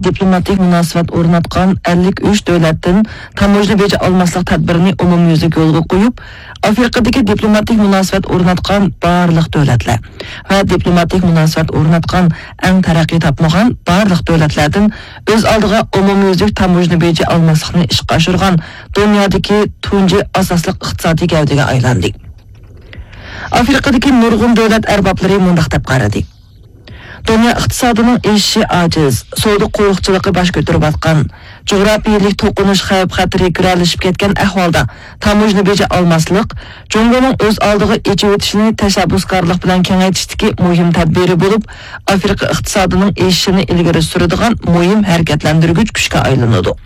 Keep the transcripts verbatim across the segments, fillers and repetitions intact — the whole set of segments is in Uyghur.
دىپلوماتىك مۇناسىۋەت ئورناتقان ئەللىك ئۈچ دۆلەتتىن تاموژنا بېجى ئالماسلىق تەدبىرىنى ئومۇميۈزلۈك يولغا قويۇپ، ئافرىقىدىكى دىپلوماتىك مۇناسىۋەت ئورناتقان بارلىق دۆلەتلەر ۋە دىپلوماتىك مۇناسىۋەت ئورناتقان ئەڭ تەرەققىي تاپمىغان بارلىق دۆلەتلەردىن ئۆز ئالدىغا ئومۇميۈزلۈك تاموژنا بېجى ئالماسلىقنى ئىشقا ئاشۇرغان دۇنيادىكى تۇنجى ئاساسلىق ئىقتىسادىي گەۋدىگە ئايلاندى. ئافرىقىدىكى نۇرغۇن دۆلەت ئەربابلىرى مۇنداق دەپ قارىدى. دۇنيا ئىقتىسادىنىڭ ئېشىشى ئاجىز، سودا قورۇقچىلىقى باش كۆتۈرۈۋاتقان، جۇغراپىيەلىك توقۇنۇش خەۋپ-خەتىرى گىرەلىشىپ كەتكەن ئەھۋالدا تاموژنا بېجى ئالماسلىق، جۇڭگونىڭ ئۆز ئالدىغا ئېچىۋېتىشىنى تەشەببۇسكارلىق بىلەن كېڭەيتىشتىكى مۇھىم تەدبىرى بولۇپ، ئافرىقا ئىقتىسادىنىڭ ئېشىشىنى ئىلگىرى سۈرىدىغان مۇھىم ھەرىكەتلەندۈرگۈچ كۈچكە ئايلىنىدۇ.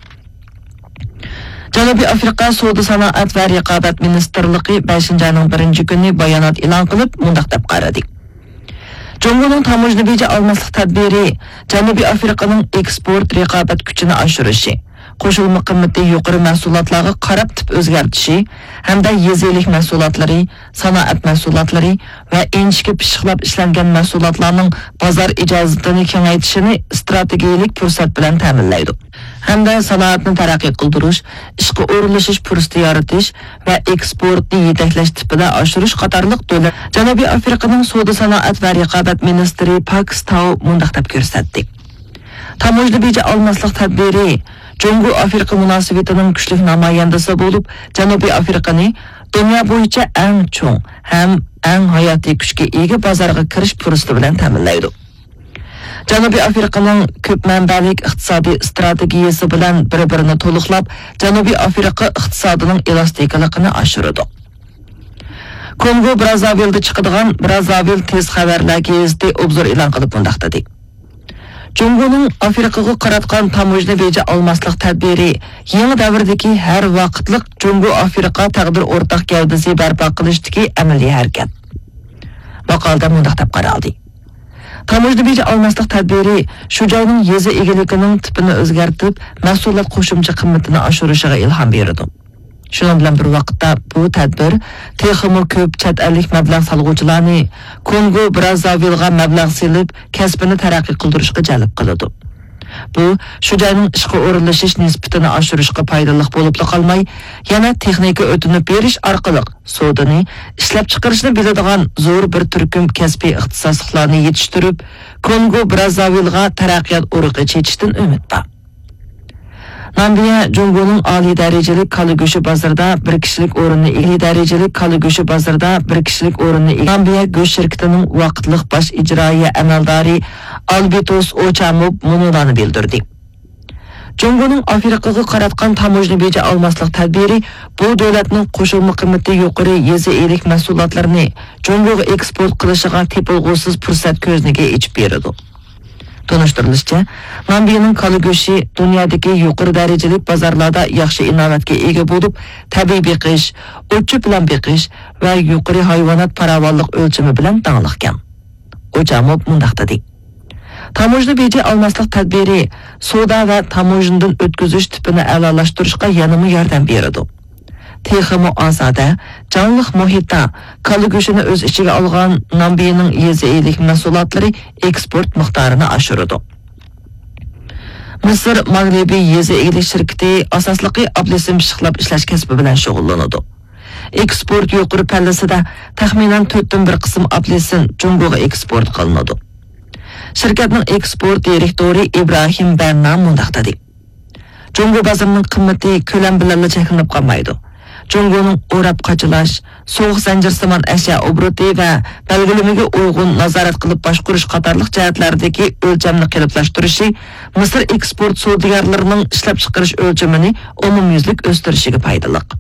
جەنۇبىي ئافرىقا سودا سانائەت ۋە رىقابەت مىنىستىرلىقى بەشىنچى ئاينىڭ بىرىنچى كۈنى بايانات ئېلان قىلىپ، مۇنداق دەپ قارىدى. جۇڭگونىڭ تاموژنا بېجى ئالماسلىق تەدبىرى جەنۇبىي ئافرىقىنىڭ ئېكسپورت رىقابەت كۈچىنى ئاشۇرۇشى، قوشۇلما قىممىتى يۇقىرى مەھسۇلاتلارغا قاراپ تىپ ئۆزگەرتىشى ھەمدە يېزا ئىگىلىك مەھسۇلاتلىرى، سانائەت مەھسۇلاتلىرى ۋە ئىنچىكە پىششىقلاپ ئىشلەنگەن مەھسۇلاتلارنىڭ بازار ئىجازىتىنى كېڭەيتىشىنى ئىستراتېگىيەلىك پۇرسەت بىلەن تەمىنلەيدۇ. ھەمدە سانائەتنى تەرەققىي قىلدۇرۇش، ئىشقا ئورۇنلىشىش پۇرسىتى يارىتىش ۋە ئېكسپورتنى يېتەكلەش تىپىدا ئاشۇرۇش قاتارلىق دۆلەت. جەنۇبىي ئافرىقىنىڭ سودا سانائەت ۋە رىقابەت مىنىستىرى پاكس تاۋ مۇنداق دەپ كۆرسەتتى. تاموژنا بېجى ئالماسلىق تەدبىرى جۇڭگو ئافرىقا مۇناسىۋىتىنىڭ كۈچلۈك نامايەندىسى بولۇپ، جەنۇبىي ئافرىقىنى دۇنيا بويىچە ئەڭ چوڭ ھەم ئەڭ ھاياتىي كۈچكە ئىگە بازارغا كىرىش پۇرسىتى بىلەن تەمىنلەيدۇ. جەنۇبىي ئافرىقىنىڭ كۆپ مەنبەلىك ئىقتىسادىي ئىستراتېگىيەسى بىلەن بىر-بىرىنى تولۇقلاپ، جەنۇبىي ئافرىقا ئىقتىسادىنىڭ ئېلاستىكىلىقىنى ئاشۇرىدۇ. كونگو برازاۋىلدا چىقىدىغان برازاۋىل تېز خەۋەرلەر گېزىتى ئوبزور ئېلان قىلىپ مۇنداق دېدى. جۇڭگونىڭ ئافرىقىغا قاراتقان تاموژنا بېجى ئالماسلىق تەدبىرى يېڭى دەۋردىكى ھەر ۋاقىتلىق جۇڭگو ئافرىقا تەقدىر ئورتاق گەۋدىسى بەرپا قىلىشتىكى ئەمەلىي ھەرىكەت. ماقالىدە مۇنداق دەپ قارالدى. تاموژنا بېجى ئالماسلىق تەدبىرى شۇ جاينىڭ يېزا ئىگىلىكىنىڭ تىپىنى ئۆزگەرتىپ، مەھسۇلات قوشۇمچە قىممىتىنى ئاشۇرۇشىغا ئىلھام بېرىدۇ. شۇنىڭ بىلەن بىر ۋاقىتتا، بۇ تەدبىر تېخىمۇ كۆپ چەت ئەللىك مەبلەغ سالغۇچىلارنى كونگو برازاۋىلغا مەبلەغ سېلىپ، كەسپىنى تەرەققىي قىلدۇرۇشقا جەلپ قىلىدۇ. بۇ شۇ جاينىڭ ئىشقا ئورۇنلىشىش نىسبىتىنى ئاشۇرۇشقا پايدىلىق بولۇپلا قالماي، يەنە تېخنىكا ئۆتۈنۈپ بېرىش ئارقىلىق سودىنى، ئىشلەپچىقىرىشنى بىلىدىغان زور بىر تۈركۈم كەسپىي ئىختىساسلىقلارنى يېتىشتۈرۈپ، كونگو برازاۋىلغا تەرەققىيات ئۇرۇقى چېچىشتىن ئۈمىد بار. نامىبىيە جۇڭگونىڭ ئالىي دەرىجىلىك كالا گۆشى بازىرىدا بىر كىشىلىك ئورۇننى ئىگىلىي دەرىجىلىك كالا گۆشى بازىرىدا بىر كىشىلىك ئورۇننى ئىگىلىي. نامىبىيە گۆش شىركىتىنىڭ ۋاقىتلىق باش ئىجرائىيە ئەمەلدارى ئالبېتوس ئوچاموب مۇنۇلارنى بىلدۈردى. جۇڭگونىڭ ئافرىقىغا قاراتقان تاموژنا بېجى ئالماسلىق تەدبىرى بۇ دۆلەتنىڭ قوشۇلما قىممىتى يۇقىرى يېزا ئىگىلىك مەھسۇلاتلىرىنى جۇڭگوغا ئېكسپورت قىلىشىغا تېپىلغۇسىز پۇرسەت كۆزنىكى ئېچىپ بېرىدۇ. تونۇشتۇرۇلۇشىچە، نامىبىيەنىڭ كالا گۆشى دۇنيادىكى يۇقىرى دەرىجىلىك بازارلاردا ياخشى ئىناۋەتكە ئىگە بولۇپ، تەبىئىي بېقىش، ئوت-چۆپ بىلەن بېقىش ۋە يۇقىرى ھايۋانات پاراۋانلىق ئۆلچىمى بىلەن داڭلىقكەن. ئوچاموب مۇنداق دېدى. تاموژنا بېجى ئالماسلىق تەدبىرى سودا ۋە تاموژنىدىن ئۆتكۈزۈش تىپىنى ئەلالاشتۇرۇشقا يەنىمۇ ياردەم بېرىدۇ. تېخىمۇ ئازادە، جانلىق مۇھىتتا كالا گۆشىنى ئۆز ئىچىگە ئالغان نامىبىيەنىڭ يېزا ئىگىلىك مەھسۇلاتلىرى ئېكسپورت مىقدارىنى ئاشۇرىدۇ. مىسىر ماغرىبىي يېزا ئىگىلىك شىركىتى ئاساسلىقى ئابلىسىم پىششىقلاپ ئىشلەش كەسپى بىلەن شۇغۇللىنىدۇ. ئېكسپورت يۇقىرى پەللىسىدە تەخمىنەن تۆتتىن بىر قىسىم ئابلىسىم جۇڭگوغا ئېكسپورت قىلىنىدۇ. شىركەتنىڭ ئېكسپورت دىرېكتورى ئىبراھىم بەننا مۇنداق دېدى. جۇڭگو بازىرىنىڭ قىممىتى كۆلەم بىلەنلا چەكلىنىپ قالمايدۇ. جۇڭگونىڭ ئوراپ قاچىلاش، سوغۇق زەنجىرسىمان ئەشيا ئوبوروتى ۋە بەلگىلىمىگە ئۇيغۇن نازارەت قىلىپ باشقۇرۇش قاتارلىق جەھەتلەردىكى ئۆلچەمنى قېلىپلاشتۇرۇشى مىسىر ئېكسپورت سودىگەرلىرىنىڭ ئىشلەپچىقىرىش ئۆلچىمىنى ئومۇميۈزلۈك ئۆستۈرۈشىگە پايدىلىق.